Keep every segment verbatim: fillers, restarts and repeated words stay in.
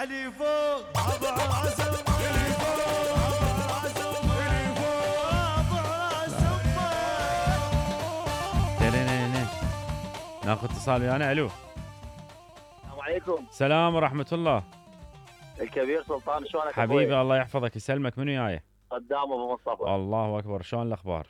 علي فوق ابو عزم علي فوق ابو عزم علي فوق ابو عزم. ناخذ اتصال ويانا. الو السلام عليكم. السلام ورحمة الله. الكبير سلطان، شلونك حبيبي الله يحفظك يسلمك. منو وياي؟ قدام ابو مصطفى. الله اكبر، شلون الاخبار؟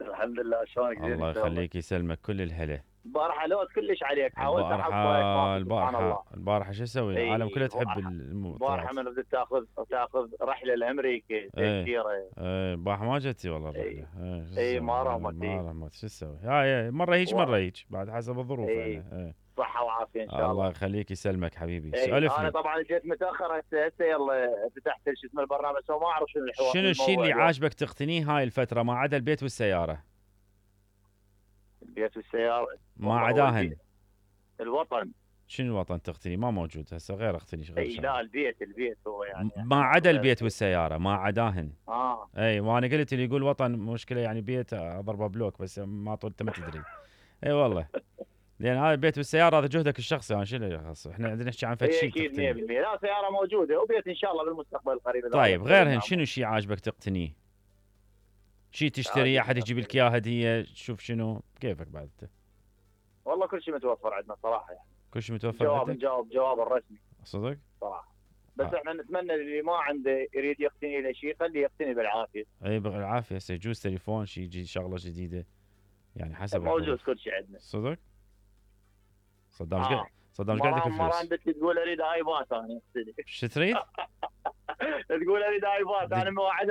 الحمد لله. شلونك؟ الله يخليك يسلمك، كل الهلا. البارحه لوت كلش عليك، حاولت البارحة البارحة البارحة شو اسوي؟ العالم كلها تحب الموضوع. البارحه من بدك تاخذ تاخذ رحله لامريكا تذكيره. ايه البارحة ما جتي والله الرحلة. اي ايه ما رمت. ما رمت، شو اسوي؟ هاي مرة هيك مرة هيك، بعد حسب الظروف. ايه. ايه. صحة وعافية ان شاء الله. الله يخليك يسلمك حبيبي. ايه. سولفني. انا طبعا جيت متاخر هسه هسه يلا فتحت شو اسمه البرنامج، بس ما اعرف شنو الحوار. شنو الشيء اللي عاجبك تقتنيه هاي الفترة ما عدا البيت والسيارة؟ البيت والسيارة ما عداهن. الوطن. شنو الوطن تقتني؟ ما موجود هسه، غير اقتني غير. اي لا البيت البيت هو يعني ما عدا البيت والسيارة ما عداهن. اه اي وانا قلت اللي يقول وطن مشكلة يعني بيت اضربه بلوك، بس ما طول انت ما تدري. اي والله لان هذا البيت والسيارة هذا جهدك الشخصي. انا شو اللي يخص؟ احنا عندنا نحكي عن فد شيء اكيد مية بالمية. لا سيارة موجودة وبيت ان شاء الله بالمستقبل القريب. طيب غيرهن شنو شيء عاجبك تقتنيه؟ شيء تشتري احد يجيب لك اياه هدية؟ شوف شنو كيفك بعد انت. والله كل شيء متوفر عندنا صراحة يعني. كل شيء متوفر. جواب نجاوب جواب الرسمي صدق صراحة. بس آه. احنا نتمنى اللي ما عنده يريد يقتني له شيء خليه يقتني بالعافية. اي بالعافية. هسه يجوز تليفون شيء يجي شغلة جديدة يعني حسب. موجود كل شيء عندنا. صدق؟ صدام ايش آه. قاعد صدام ايش قاعد يدك الفلوس؟ مرة عندك تقول اريد ايباد انا. شو تريد؟ تقول اريد ايباد انا مواعد